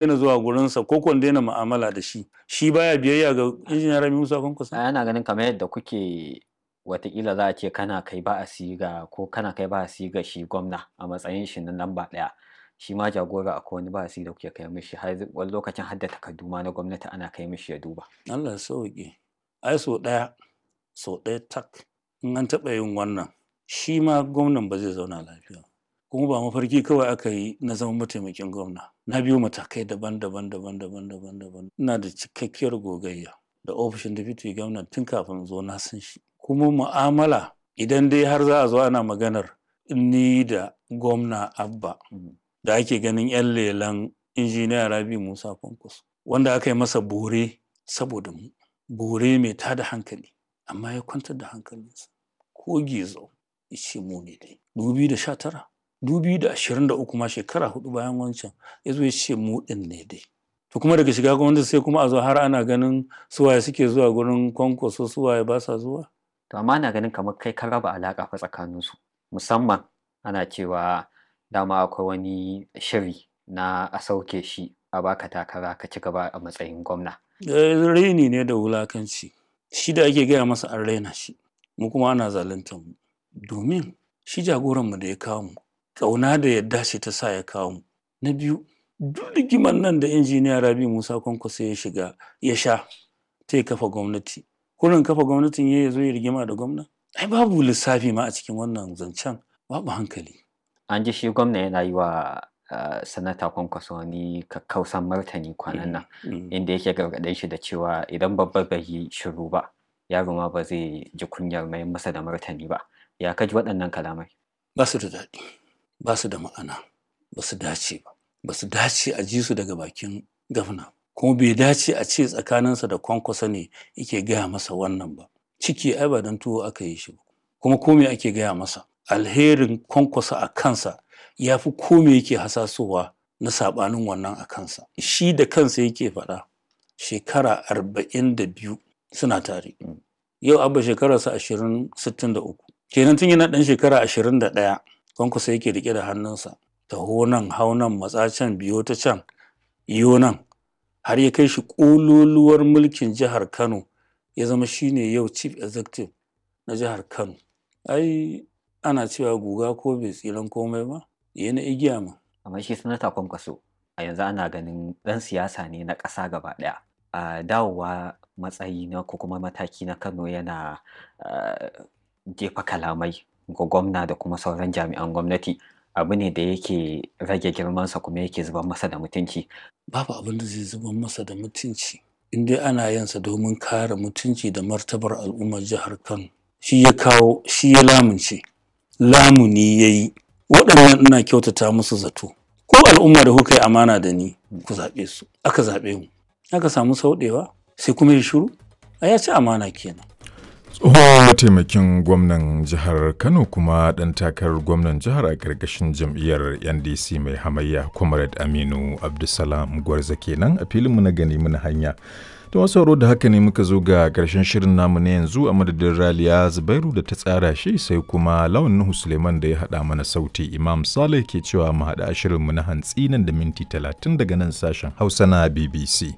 Daina zuwa gurinsa ko ko in daina mu'amala da shi. Shi baya biyayya ga Injiniya Rabi Musa Kwankwaso? Ana ganin kamar yadda kuke, watakila za a ce kana kai ba'asi ga, ko kana kai ba'asi ga shi gwamna a matsayin shi na lamba ɗaya. Shi ma jagora akwai wani ba'asi da kuke kai mishi, har wani lokacin har da takardu ma na gwamnati ana kai mishi ya duba. Allah ya sauwaƙe. Ai sau ɗaya, sau ɗaya tak in an taɓa yin wannan, shi ma gwamnan ba zai zauna lafiya ba. Kuma ba mafarki kawai aka yi na zama mataimakin gwamna. Na biyo matakai daban-daban daban-daban daban-daban. Ina da cikakkiyar gogayya da ofishin deputy gwamna tun kafin in zo, na san shi. Kuma mu'amala, idan dai har za a zo ana maganar ni da gwamna Abba da ake ganin 'yan lelan Injiniya Rabi Musa Kwankwaso, wanda aka yi masa bore saboda mu, bore mai tada hankali, amma ya kwantar da hankalinsa ko gizo ya ce mu ne dai. 2019, 2023 ma, shekara 4 bayan wancan, ya zo ya ce mu ɗin ne dai. To kuma daga shiga gwamnati sai kuma a zo har ana ganin suwaye suke zuwa gurin Kwankwaso, suwaye ba sa zuwa. To amma ana ganin kamar kai ka raba alaƙa fa tsakaninsu, musamman ana cewa dama akwai wani shiri na a sauke shi a baka takara ka ci gaba a matsayin gwamna. Raini ne da wulakanci. Shi da ake gaya masa an raina shi, mu kuma ana zaluntar mu. Domin shi jagoranmu da ya kawo mu, ƙauna da yadda ce ta sa ya kawo mu. Na biyu, duk rigimar nan da Injiniya Rabi Musa Kwankwaso ya shiga ya sha ta ya kafa gwamnati. Kurin kafa gwamnatin ya zo ya rigima da gwamna? Ai babu lissafi ma a cikin wannan zancen, babu hankali. An ji shi gwamna yana yi wa Sanata Kwankwaso wani kakkausan martani kwanan nan, inda yake gargaɗin shi da cewa idan babba bai yi shiru ba, yaro ma ba zai ji kunyar mayar masa da martani ba. Ya ka ji waɗannan kalamai? Ba su da daɗi, ba su da ma'ana, ba su dace ba. Ba su dace a ji su daga bakin gwamna. Kuma bai dace a ce tsakaninsa da Kwankwaso ne yake gaya masa wannan ba. Ciki ai ba don tuwo aka yi shi ba. Kuma ko me ake gaya masa? Alherin Kwankwaso a kansa ya fi ko me yake hasasowa na saɓanin wannan a kansa. Shi da kansa yake faɗa, shekara 42 suna tare. Yau Abba shekararsa 20, 63. Kenan tun yana ɗan shekara 21 Kwankwaso yake riƙe da hannunsa. Taho nan, hau nan, matsa can, biyo ta can, iyo nan. Har ya kai shi ƙololuwar mulkin jihar Kano, ya zama shi ne yau chief executive na jihar Kano. Ai ana cewa guga ko bai tsiran komai ba, ya na igiya ma. Amma shi Sanata Kwankwaso a yanzu ana ganin ɗan siyasa ne na ƙasa gaba ɗaya. A dawowa matsayi na ko kuma mataki na Kano yana jefa kalamai ga gwamna da kuma sauran jami'an gwamnati, abu ne da yake rage girmansa kuma yake zubar masa da mutunci. Babu abin da zai zubar masa da mutunci in dai ana yin sa domin kare mutunci da martabar al'ummar jihar Kano. Shi ya kawo, shi ya lamunce, lamuni ya yi. Waɗannan ina kyautata musu zato. Ko al'umma da kuka yi amana da ni, ku zaɓe su. Aka zaɓe mu. Aka samu sauɗewa, sai kuma ya shiru. Ai ya ci amana kenan. Tsohon mataimakin gwamnan jihar Kano kuma ɗan takarar gwamnan jihar a ƙarƙashin jam'iyyar NDC mai hamayya, Comrade Aminu Abdulsalam Gwarza kenan a filinmu na gani muna hanya. Da masu sauraro, da haka ne muka zo ga ƙarshen shirin namu na yanzu, a madadin Raliya Zubairu da ta tsara shi, sai kuma Lawan Nuhu Suleiman da ya haɗa mana sauti. Imam Saleh ke cewa mu haɗa shirinmu na hantsi nan da minti 30 daga nan sashen Hausa na BBC.